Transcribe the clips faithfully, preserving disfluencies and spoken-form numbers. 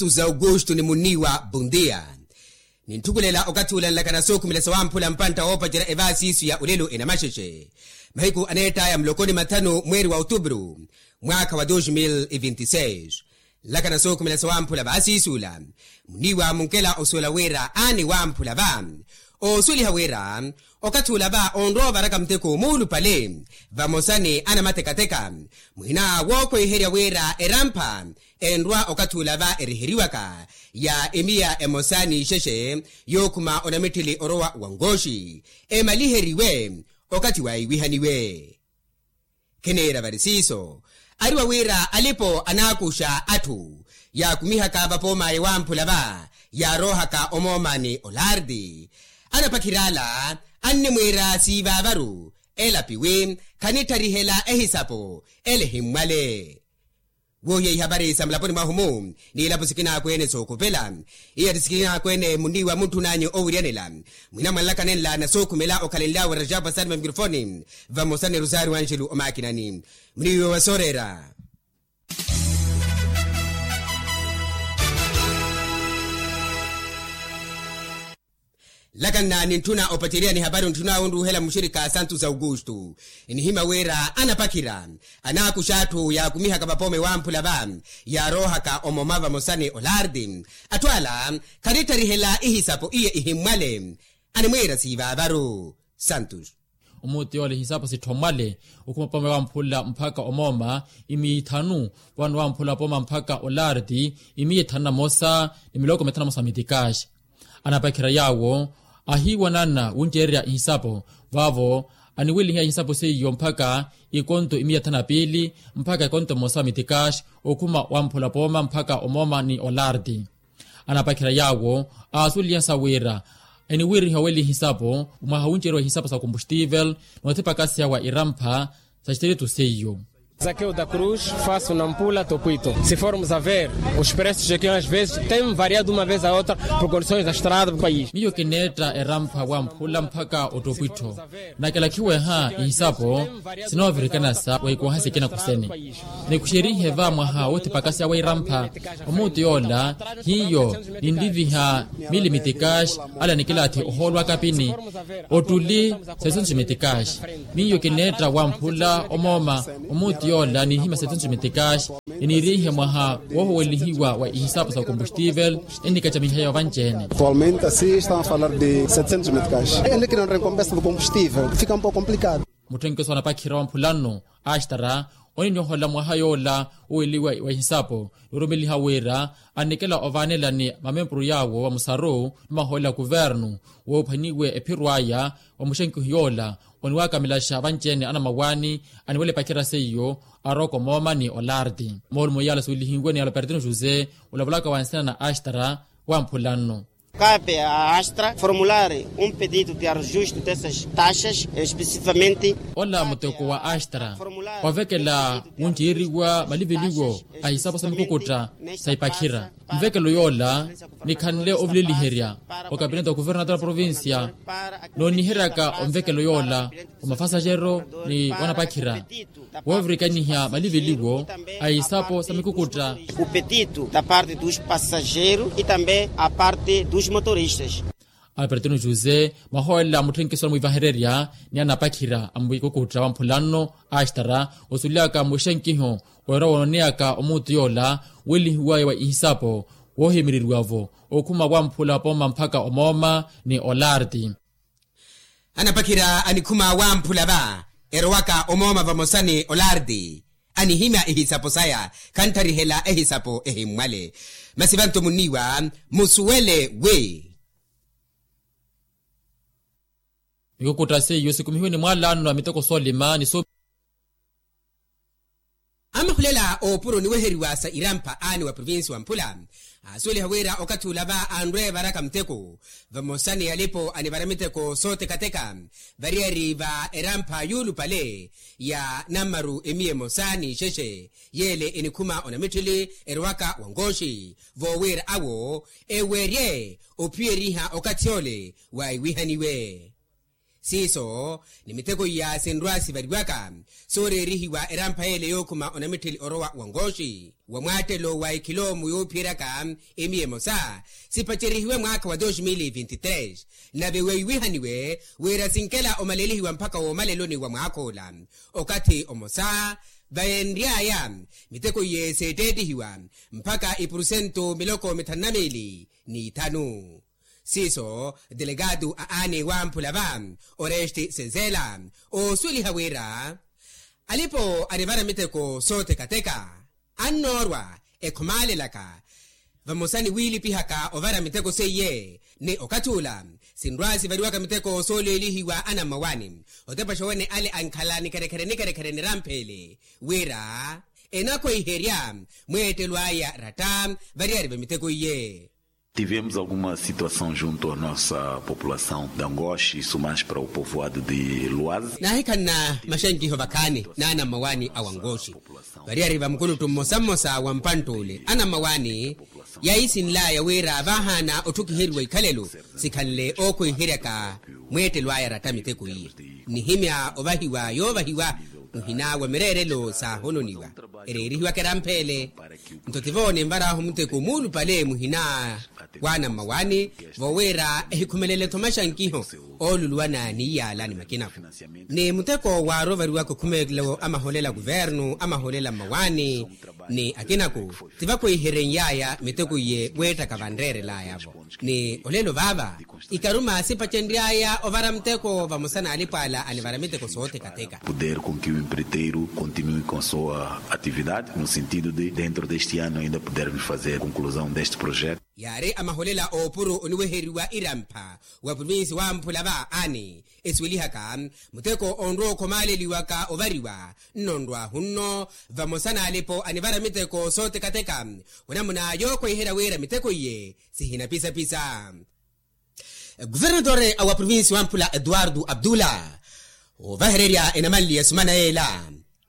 Santos augusto ni munniiwa bondia. Nintthukhulela okathi ula nlakana sookhumela sawamphula mpantta woopacerya evaasi isu ya olelo enamaxexe. Mahiku aneett'aya muloko ni mathanu mweeri wa otubru, mwaakha wa dos mil e vinti seis. Nlakana sookhumela sawamphula vaasi isu ula, munniiwa munkela osuwela wira aani wamphula va. Oosuweliha wira okathi ula va onrowa ovaraka muteko muulupale, vamosa ni anamatekateka, muhina wookhweiherya wira erampha enrowa okathi ula va eriheriwaka ya emiya emosa n'ixexe yookhuma onamitthili orowa wa nkooxi, emaliheriwe okathi waiwihaniwe. Kheneera vari siiso, ariwa wira alipo anaakuxa atthu yaakumihaka vapoom'aya wamphula va, yaaroohaka omooma ni olardi. Anapakhir'ala annimwiira siivaavaru, elapiwi khanittharihela ehisapo ele ehimmwale. Woohiya ihapari sa mulaponi mwahu-mu, n'ilapo sikinaakwene sookopela. Iya ti sikinaakwene munniiwa muntthun'anyu owiryanela, mwina mwanlaka nenla nasookhumela okhalenlyawe rajapa sani va mikirofoni, vamosa ni rosario anjelu omaakinani. Munniiwe wa sooreera. Nlakanna nintthuna opacerya ni hapari ontthun'awe onruuhela muxirikha santos augusto, enihimya wira anapakhira anaakuxa atthu yaakumihaka vapoome wamphula va, yaaroohaka omooma vamosa ni olardi. Atthu ala khanittharihela ihisapo iye ihimmwale, animwiira siivaavaru. Santos. Omuuti yoola ihisapo sitthommwale, okhuma poome wamphula mphaka omooma imiya ithanu, vano wamphula poome mphaka olardi imiya ithanu na mosa ni miloko mithanu na mosa mitikaxi. Anapakhira yaawo ahiiwanana wuncererya ihisapo, vaavo aniwelihiya ihisapo seiyo mphaka ikonto imiya thanu na piili mphaka ikonto mmosa wa mitikaxi, okhuma wamphula pooma mphaka omooma ni olardi. Anapakhira yaawo aasuweliha sa wira eniwiriha oweliha ihisapo mwaha wuncereriwa ihisapo sa kombustivel, n'othipakaseya wa irampha sa xitiritu seiyo. Zaqueu da cruz, faço nampula topwito. Se formos a ver, os preços aqui às vezes têm variado de uma vez a outra por condições da estrada do país. Miyo kineetta erampha wamphula mphaka otopwittho. Nakelakhiweha ihisapo sinoovirikana sa waikwaaha sikina kusene. Nikuxerihe va mwaha woothipakaseya wa irampha, omuuti yoola hiyo ninliviha mili mitikaxi, ala nikilaathi ohoolwa akapini ottuli saisentu mitikaxi. Miyo kineetta wamphula omooma omuuti yoola niihimya saisentu mitikaxi, eniiriihe mwaha woohowelihiwa wa ihisapo sa kombustivel enikacamiheya ovanci-ene. Atualmente assim estamos a falar de setecentos meticais, ene kina recompensa do combustível fica um pouco complicado. Mutthenkeso anapakhira wamphula nno, astara, oninohola mwaha yoola oweliwa wa ihisapo, noorumeliha wira anikela ovaanelani mamempuru yaawo vamusaru ni mahoolela kuvernu, woophwaniwe ephiro aya wa muxenkihu yoola oniwakamelaxa vanci-ene anamawaani aniwela epakhira seiyo, aroko mooma ni olardi. Moolumo yaala suwelihiwe ni albertino josé, olavalaka wa nsina na astara, wamphula nno. Cabe à Astra formular um pedido de ajuste dessas taxas, especificamente. Ola muteko wa astra ovekela wunceeriwa maliveliwo a isapo sa mikukutta sa ipakhira. Nvekelo yoola nikhanle ovileliherya okapineti wa kuvernator a provincia, nooniheryaka onvekelo yoola wa mafasajero ni wanapakhira woovirikaniha maliveliwo a isapo sa mikukutta. O pedido da parte dos passageiros e também a parte dos motoristas. Albertino josé mwahoolela mutthenkiso na mwiivahererya ni anapakhira a mwikukutta wa mphulanno, astara osulyaka muxenkiho weera woononeyaka omuutu yoola welihiwaye wa ihisapo woohimireriwa-vo okhuma wamphula pooma mpakha omooma ni olarti. Anapakhira anikhuma wamphula va erowaka omooma vamosa ni olarti, anihimya ihisapo saya khantharihela ehisapo ehimmwale. Masi vantu munniiwa musuwele wi mikukutta seiyo sikumihiwe ni mwaalanno a miteko soolima ni so. Amahulela oopuro niweheriwa sa irampha aani wa provinsi wa mphula aasuweliha wira okathi ula va anrwe varaka muteko vamosa ni alipo anivara miteko sootekateka variyari va erampha yuulupale ya nammaru emiya emosa n'ixexe yeele enikhuma onamitthili erowaka wa nkooxi voowira awo ewerye ophiyeriha okathi ole waiwihaniwe. Siiso ni miteko iya sinrwa sivariwaka sooreerihiwa erampha yeele yookhuma onamittheli orowa wa nkooxi wa mwaattelo wa ekhilomu yoophiyeryaka emiya emosa, sipacerihiwe mwaakha wa dos mil e vinte tres. Nave weiwihaniwe wira sinkela omalelihiwa mpakha woomaleloni wa mwaakha ola okathi omosa. Vayenry'aya miteko iye seetteettihiwa mpakha ipursentu miloko mithanu na miili n'ithanu. Siiso delegado a aani wamphula va oreste senzela oosuweliha wira alipo anivara miteko sootekateka annoorwa ekhomaalelaka vamosa ni wiilipihaka ovara miteko seiye. Ni okathi ula sinrwa sivariwaka miteko sooleelihiwa anammawaani otepaxa wene ale ankhala nikherekhere nikherekhere nirampheele wira enakhweiherya mweettelo aya ratta variyari va miteko iye. Tivemos alguma situação junto a nossa população da ngoxi isso mais para o povoado de luazi. Naahikhanna maxankiho vakhaani n'anammawaani a wangoxi variyari va mukuluttu mmosa mmosa wa mpantt'ule anammawaani yaisinl'aya wira vaahaana otthukiheriwa ikhalelo sikhanle ookhweiheryaka mweettelo aya ratta miteko iye. Nihimya ovahiwa yoovahiwa muhina wa mireerelo saahononiwa ereerihiwaka erampheele. Nto tivo ninvar'ahu muteko muulupale muhina w'anammawaani voowira ehikhumelele-tho maxankiho ooluluwana ni iyaala ni makinaku ni muteko waarovariwaka okhumelo amaholela kuvernu amaholela mmawaani ni akinaku. Tivakhweiheren'y'aya miteko iye weettaka vanreerel'aya-vo ni olelo vaava ikaruma sipacenry'aya ovara muteko vamosa n'alipo ala anivara miteko sootekateka. Poder com que o empreiteiro continue com sua atividade no sentido de dentro deste ano ainda podermos fazer conclusão deste projeto. Yaari amaholela oopuro oniweheriwa irampha wa provinsi wamphula va ani esiwelihaka muteko onrwa okhomaaleliwaka ovariwa nnonrwahu nno vamosa n'alipo anivara miteko sootekateka onamuna yookhweiherya wira miteko iye sihinapisapisa. Guvernatore wa provinsi wamphula eduardo abdullah ovahererya enamanli ya sumana yeela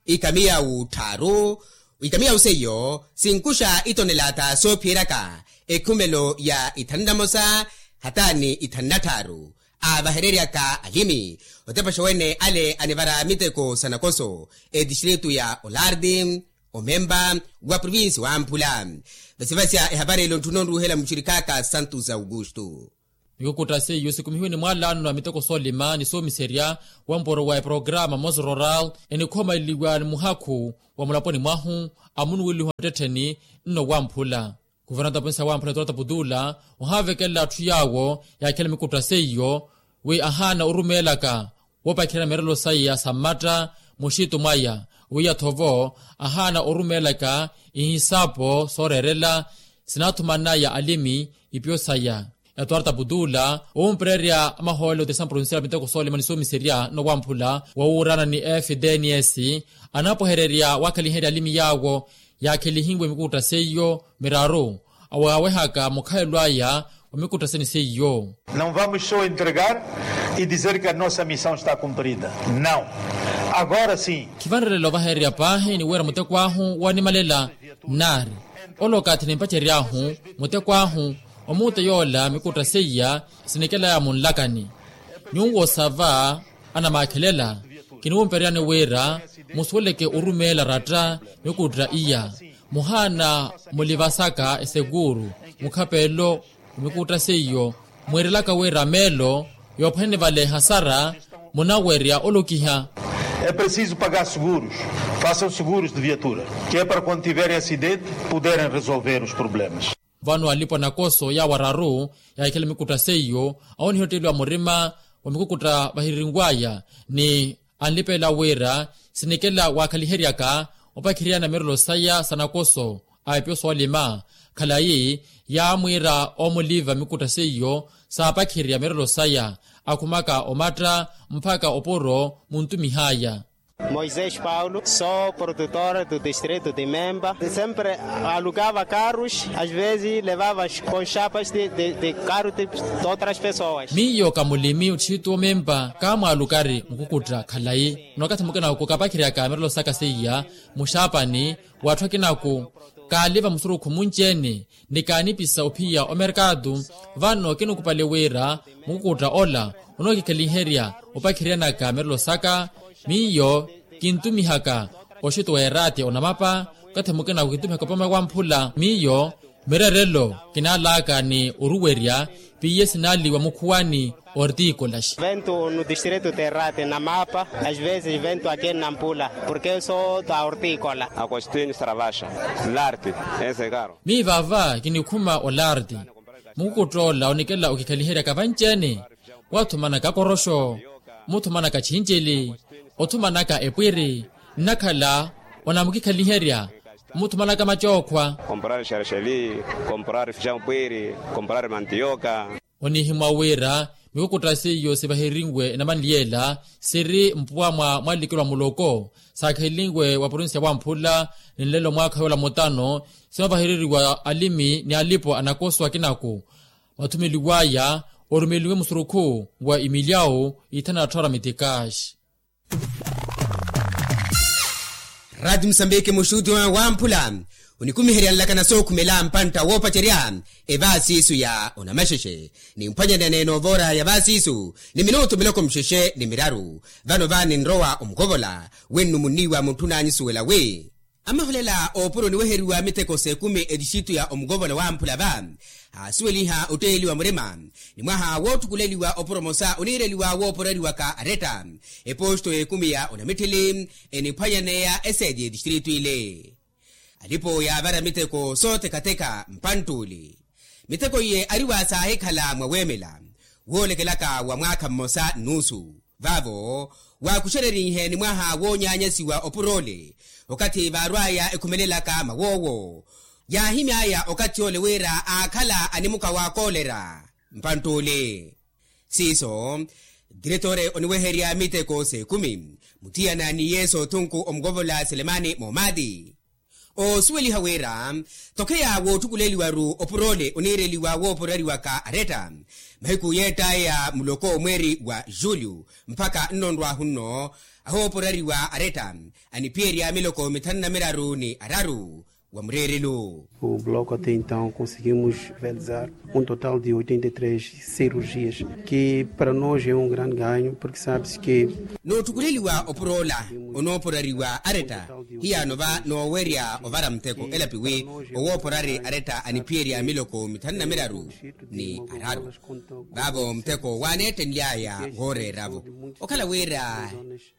ikamiya wutthaaru ikamiya wuseiyo sinkuxa itonelata soophiyeryaka ekhumelo ya ithanu na mosa hataani ithanu na tthaaru avahereryaka alimi otepaxa wene ale anivara miteko sa nakoso etistritu ya olardi omemba wa provinsi wamphula. Vasivasya ehapari elo ntthuna onruuhela muxirikaka santos augusto. Mikukutta seiyo sikumihiwe ni mwaalano a miteko soolima ni soomiserya wampuro wa eprograma mos rural enikhomaleliwa ni muhakhu wa mulaponi mwahu amunuweliwa muttettheni nno wamphula. Kuvernata ponsa wamphula etorata putula ohaavekela atthu yaawo yaakhela mikutta seiyo wi ahaana orumeelaka woopakherya mirelo saya sa mmatta muxitu mwaya wiya-tho vo ahaana orumeelaka ihisapo sooreerela sinaathumanaya alimi ipiyo saya. Etuarta putula owumpererya amahoolelo otesampuro nsira miteko soolima ni soomiserya nowamphula wowuurana ni fdns anaapohererya waakhaliherya alimi yaawo yaakhelihiwe mikutta seiyo miraru awaawehaka mukhayelo aya wa mikutta sene seiyo. Não vamos só entregar e dizer que a nossa missão está cumprida. Não. Agora sim. Khivanrelela ovahererya paahi ni wira muteko ahu woonimalela nnaari ole okathi nimpacery'ahu muteko ahu omuutta yoola mikutta seiya sinikelaya munlakani nyuwo sava anamaakhelela kiniwumpereryani wira musuweleke orumeela ratta mikutta iya muhaana mulivasaka esekuuru mukhapelo wa mikutta seiyo mwiirelaka wira meelo yoophwanene vale ehasara munawerya olokiha. É preciso pagar seguros. Façam seguros de viatura que é para quando tiverem acidente poderem resolver os problemas. Vano alipo anakoso yaawo araru yaahikhela mikutta seiyo awo nihotteliwa murima wa mikukutta vahiririnw'aya ni anlipeela wira sinikela waakhaliheryaka opakhiriyana mirelo saya sa nakoso a epyo soolima khalayi yaamwiira omuliva mikutta seiyo saapakhirya mirelo saya akhumaka omatta mpakha opuro muntumih'aya. Moisés paulo sou produtor do distrito de memba, sempre alugava carros, às vezes levava com chapas de carro de outras pessoas. Miyo kamulimi otthitu omempa kaamwaalukari mukukutta khalayi. Nokathe mukinaku kapakhiriyaka mirelo saka seiya muxaapani, w'atthu akinaku kaaliva musurukhu munci-ene ni kaanipisa ophiya omerkatu. Vano kinikupale wira mukukutta ola onookikhalinherya opakhiryanaka mirelo saka. Miyo kintumihaka oxito wa erati onamapa, okathi mukinaku kintumihaka opama wamphula. Miyo mirerelo kinaalaka ni oruwerya piye sinaaliwa mukhuwani. Ortikolaxi. Vento no distrito de rate namapa, às vezes vento ake nampula, porque eu sou da ortikola. Agostinho saravaxa, larti. Ese karo. Miyo vava kinikhuma olarti. Mukukutta ola onikela okikhaliheryaka vanci-ene, wathumanaka koroxo, muthumanaka chincili, othumanaka epwiri, nnakhala onamukikhaliherya, muthumanaka macookhwa. Komporari xerexeli, komporari fixa mpwiri, komporari mantioka. Onihimwa wira mikukutta seiyo sivaherinwe enamanli yeela siri mpuwa mwa mwalikelwa muloko, saakhelinwe wa provincia wamphula ni nlelo mwaakha yoola mutano, simavahereriwa alimi ni alipo anakoso akinaku. Mathumeliw'aya orumelinwe musurukhu wa imiliau ithana atthu ara mitikaxi. Rati musambiki muxuti wamphula onikumiherya nlakana sookhumela mpantta woopacerya evaasiisu ya onamaxexe ni mphwanyanene noovora ya vaasiisu ni minutu miloko muxexe ni miraru. Vano vaani nrowa omukovola wennu munniiwa mutthu naanyisuwela wi amaholela oopuro niweheriwa miteko s'ekumi etixitu ya omukovola wamphula va aasuweliha otteeliwa murima ni mwaha wootthukuleliwa opuro mosa oniireliwa wooporeriwaka aretta eposto y'ekumi ya onamitthili eniphwanyaneya eseeti y'etistritu ile. Alipo yaavara miteko sootekateka mpantt'ule miteko iye ari wa saahikhala mwa weemela woolekelaka wa mwaakha mmosa nnuusu. Vaavo waakuxererihe ni mwaha woonyaanyasiwa opur'ole okathi vaarw'aya ekhumelelaka mawoowo yaahimy'aya okathi ole wira aakhala animuka wa koolera. Mpantt'ule siiso diretore oniweherya miteko s'ekumi muthiyana ni yesu othunku omukovola selemani moomati oosuweliha wira tokheya wootthukuleliwaru opur'ole oniireliwa wooporeriwaka aretta mahiku yeett'aya muloko mweeri wa julio mpakha nno nrw'ahu nno ahooporeriwa aretta aniphiyerya miloko mithanu na miraru ni araru wa mureerelo. O bloco até então conseguimos realizar um total de oitenta e três cirurgias que para nós é um grande ganho porque sabe-se que nootthukuleliwa opur'ola onooporeriwa aretta hiyaano va noowerya ovara muteko elapi wi owooporari aretta aniphiyerya miloko mithanu na miraru ni araru. Vaavo muteko waaneettenly'aya wooreeravo okhala wira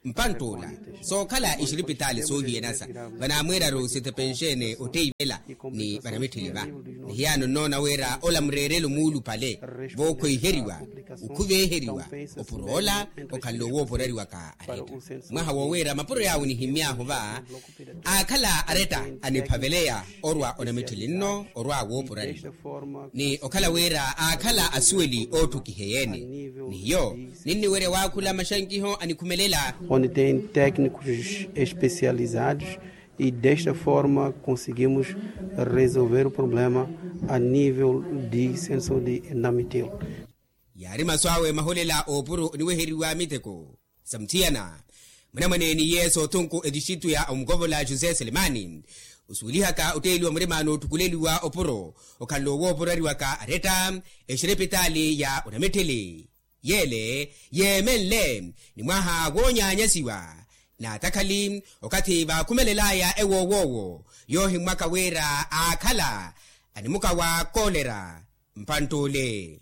mpantt'ula sookhala ixiripitaali soohiyanasa vanaamwiiraru sitepenxene otteivela ni vanamitthili va nihiyaano nnoona wira ola mureerelo muulupale vookhweiheriwa okhuveeheriwa opur'ola okhanle owooporeriwaka aretta mwaha wowira mapuro yaawo nihimmy'ahu va aakhala aretta aniphaveleya orwa onamitthili nno orwa wooporeriwa ni okhala wira aakhala asuweli ootthukiheya-ene nihiyo ninniwerya waakhula maxankiho anikhumelela onde tem técnicos especializados e desta forma conseguimos resolver o problema a nível de centro de saúde de namitil. Yaari masu awe maholela oopuro oniweheriwa miteko sa muthiyana mwanamwaneeni yesu othunku etixitu ya omukovola jose selemani osuwelihaka otteeliwa murima nootthukuleliwa opuro okhanle owooporeriwaka aretta exirepitaali ya onamitthili yeele yeemenle ni mwaha woonyaanyasiwa naatakhali okathi vaakhumelel'aya ewoowoowo yoohimmwaka wira aakhala animuka wa koolera mpantt'ule.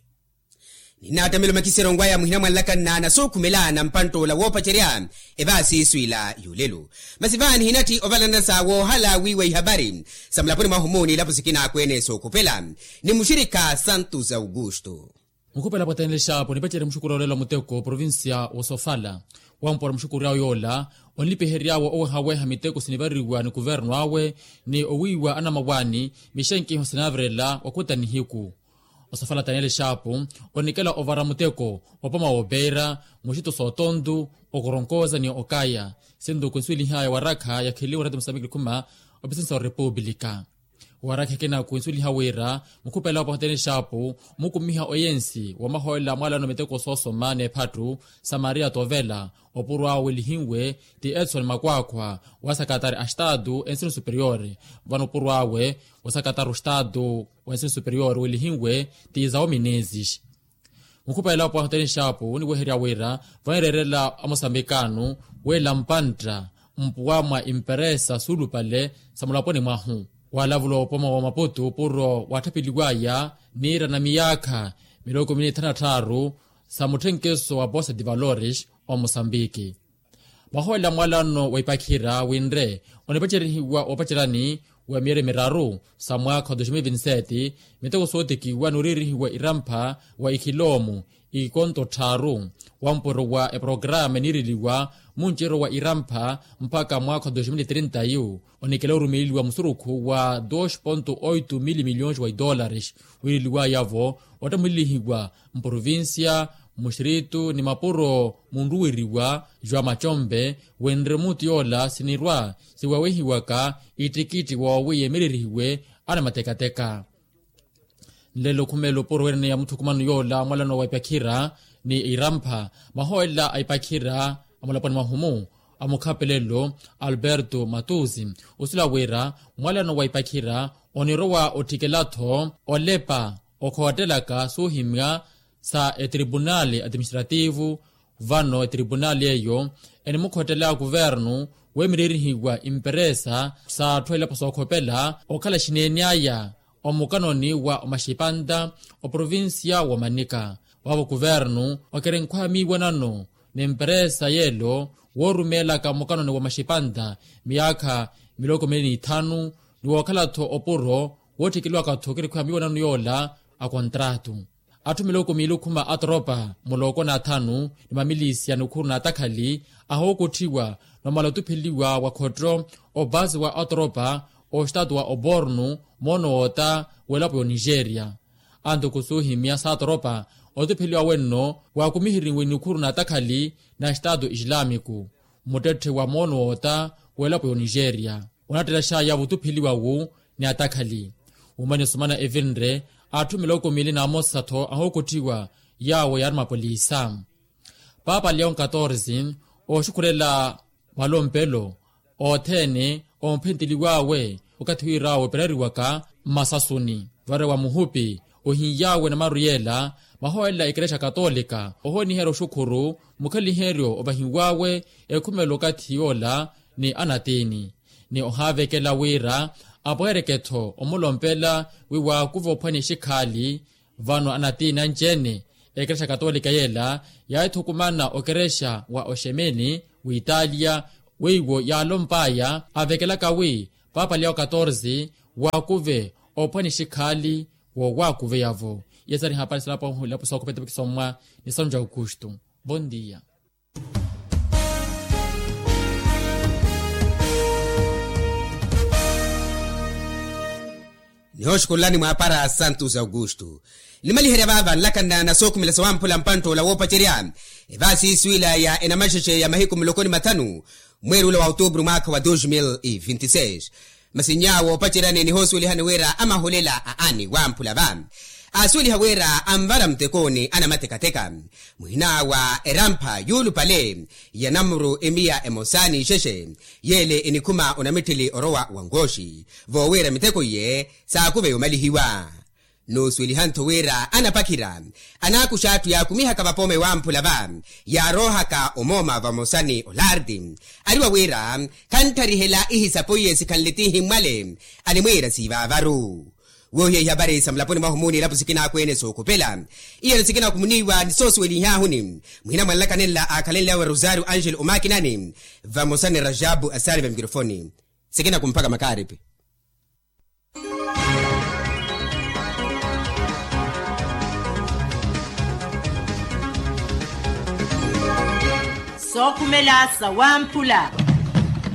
Ninnaattamela omakiseryo waya muhina mwanlakanna na sookhumela na mpantt'ula woopacerya evaasiisu ila y'olelo masi vaani hinatthi ovalanasa woohala wiiwa ihavari sa mulaponi mwahu muuni ilapo sikina akweene sookhupela ni muxirikha santos augusto. Mukhupela pwatenlexapo nipacerya muxukuri olelo muteko provincia wosofala wampora muxukuri awe yoola onlipihery'awe owehaweha miteko sinivariwa ni kuverno awe ni owiiwa anamawaani mixenkiho sinaavirela wakuta nihiku Osafala taniyeli xaapu onikela ovara muteko opoma woopeera muxitu sootontu, okoronkoza ni okaya. Sinto kunsuwelihaya warakha yakheliwa orati musambiki khuma opisinsa wa repupulika. Warakha ekina kunsuweliha wira mukhupela opahoteni xaapu mukumiha oyensi wa mahoolela mwalano miteko soosoma n'ephattu sa maria tovela. Opuro awe welihinwe ti edson makwaakhwa wa sakatari a estatu ensino superior. Vano opuro awe wa sakatari a estatu wa ensino superior welihinwe ti zawo minezis. Mukhupela opwahoteni xaapu oniweherya wira vanireerela amosambikano wela mpantta mpuwa mwa imperesa suulupale sa mulaponi mwahu. Walavula opoma wa maputu puro watthapeliwaya niira na miyaakha miloko mili ni thanu na tthaaru sa mutthenkeso wa posa de valores omosambiki. Mahoolela mwalano wa ipakhira winre onipacerihiwa opacerani wa miyeri miraru sa mwaakha wa dos mil vinti sete. Miteko sootikiwa nooriirihiwa irampha wa ikhilomu ikonto tthaaru wa mpuro wa eprograma eniireliwa munceryo wa irampha mpakha mwaakha wa dos mil trinta yu onikela orumeleliwa musurukhu wa dos ponto oito mil milhões wa idolares. Wiireliwaya-vo ottamulihiwa mprovincia, muxiritu ni mapuro munruweriwa joão macombe. Wenre muti yoola sinirwa siwawehiwaka ittikitthi woowi yemererihiwe anamatekateka. Nlelo khumela opuro wene ya mutthukumano yoola mwalano wa ipakhira ni irampha mahoolela a ipakhira a mulaponi mwahumu a mukhapelelo alberto matuzi osila wira mwalano wa ipakhira onirowa otthikela-tho olepa okhoottelaka suuhimya sa etripunali atiministrativu. Vano etripunali eyo enimukhottela kuvernu weemererihiwa imperesa sa atthu a ilapo sookhopela okhala xineene aya omukanoni wa omaxipanta oprovincia wa omanika. Vaavo kuvernu okiri nkhwamiiwanano n'emperesa yeelo woorumeelaka mukanoni wa maxipanta miyaakha miloko mili ni ithanu ni wookhala-tho opuro wootthikeliwaka-tho okiri nkhwamiiwanano yoola a kontratu. Atthu miloko miili okhuma atoropa muloko n'athanu ni mamilisiya ni okhuru n'atakhali ahookotthiwa nomala otupheliwa wa khotto opasi wa atoropa ostaatu wa obornu moono woota w'elapo y'onigeria. Anto kusuuhimya saatoropa otupheliwa wenno waakumiheriwe nikhuru n'atakhali na staatu islaamiku muttetthe wa moono woota w'elapo y'onigeria onattelexaya vutupheliwa-wu ni atakhali. Wumani osumana evinre atthu miloko miili n'amosa-tho ahookotthiwa yaawo yaari mapolisa. Papa leon katorze ooxukhulela malompelo othene omphentteliw'awe okathi wira woopereriwaka mmasasuni varewa muhupi ohiny'awe namaru yeela. Mahoolela ekerexa katolika ohooniherya oxukhuru mukhaliheryo ovahiw'awe ekhumela okathi yoola ni anatiini ni ohaavekela wira apweereke-tho omulompela wi waakuva ophwanya exikhaali. Vano anatiini anci-ene ekerexa katolika yeela yaahithukumana okerexa wa oxemeni w'italia weiwo yaalomp'aya avekelaka wi papa leon katorze waakuve ophwanya exikhaali woowaakuveya-vo. Iye sari hapari salapo hilapo sookhopeta vakisommwa ni sanju aukustu. Vondia. Nihooxukhulelani mwaapara santos aukustu. Nimaliherya vaava nlakanna na sookhumela sawamphula mpantt'ola woopacerya evaasi isiwila ya enamaxexe ya mahiku muloko ni mathanu mweeri ula wa outubru mwaakha wa dos mil e vinti seis. Masi nyaawo opaceryani nihoosuwelihani wira amahulela a ani wamphula va aasuweliha wira anvara mutekooni anamatekateka muhina wa erampha yuulupale ya namuru emiya emosa n'ixexe yeele enikhuma onamitthili orowa wa nkooxi voowira miteko iye saakuveya omalihiwa. Noosuweliha-ntho wira anapakhira anaakuxa atthu yaakumihaka vapoome wamphula va yaaroohaka omooma vamosa ni olardi ariwa wira khantharihela ihisapo iye sikhanle tiihi mmwale animwiira siivaavaru. Woohiya ihapari sa mulaponi mwahu muuni ilapo sikinakweene sookhopela iyano sikinakumuniwa ni soosuwelihaahuni muhina mwa nlaka nenla aakhalenle awe rosario angelo omakinani vamosa ni rajabu asaari va mikirofoni. Sikinakumphaka makaaripi. Sookhumela sawamphula.